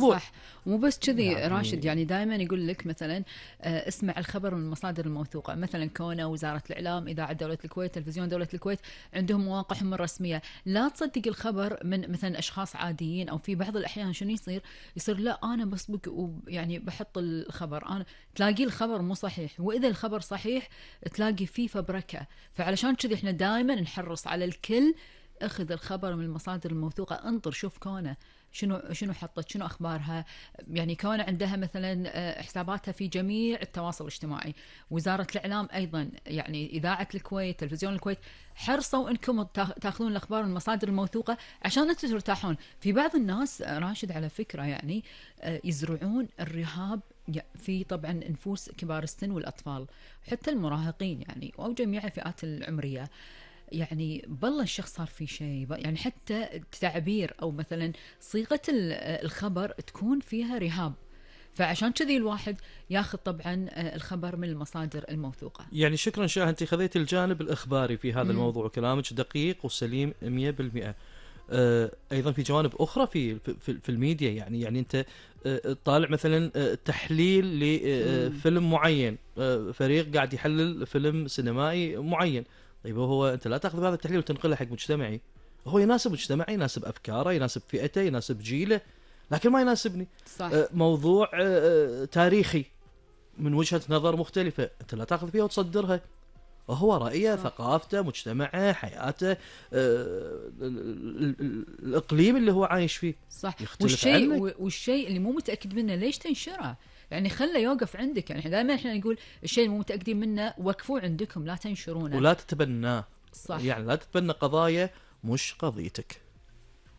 صح. مو بس كذي راشد، يعني يعني دائما يقول لك مثلا اسمع الخبر من المصادر الموثوقه، مثلا كونه وزاره الاعلام، اذاعه دوله الكويت، تلفزيون دوله الكويت، عندهم مواقعهم الرسميه. لا تصدق الخبر من مثلا اشخاص عاديين، او في بعض الاحيان شنو يصير لا انا بسبق يعني بحط الخبر، انا تلاقي الخبر مو صحيح، واذا الخبر صحيح تلاقي فيه فبركه. فعلشان كذي احنا دائما نحرص على الكل، اخذ الخبر من المصادر الموثوقه، انطر شوف كونه شنو حطت، شنو اخبارها. يعني كون عندها مثلا حساباتها في جميع التواصل الاجتماعي. وزاره الاعلام ايضا، يعني اذاعه الكويت، تلفزيون الكويت، حرصوا انكم تاخذون الاخبار من المصادر الموثوقه عشان انتم ترتاحون. في بعض الناس راشد على فكره يعني يزرعون الرهاب في طبعا نفوس كبار السن والاطفال، حتى المراهقين يعني، او جميع الفئات العمريه. يعني بالله الشخص صار في شيء، يعني حتى التعبير او مثلا صيغه الخبر تكون فيها رهاب. فعشان كذي الواحد ياخذ طبعا الخبر من المصادر الموثوقه. يعني شكرا شاه، انت خذيت الجانب الاخباري في هذا امم الموضوع، وكلامك دقيق وسليم 100%. ايضا في جوانب اخرى في الميديا، يعني انت طالع مثلا تحليل لفيلم معين، فريق قاعد يحلل فيلم سينمائي معين. طيب هو انت لا تاخذ هذا التحليل وتنقله حق مجتمعي، هو يناسب مجتمعي، يناسب افكاره، يناسب فئته، يناسب جيله، لكن ما يناسبني. صح. موضوع تاريخي من وجهة نظر مختلفة، انت لا تاخذ فيها وتصدرها. وهو رأيه، صح. ثقافته، مجتمعه، حياته، الإقليم اللي هو عايش فيه صح. يختلف عنك. والشيء اللي مو متاكد منه ليش تنشره؟ يعني خله يوقف عندك. يعني دائما احنا نقول الشيء اللي مو متاكدين منه وقفوه عندكم، لا تنشرونه. ولا تتبناه، صح. يعني لا تتبنى قضايا مش قضيتك.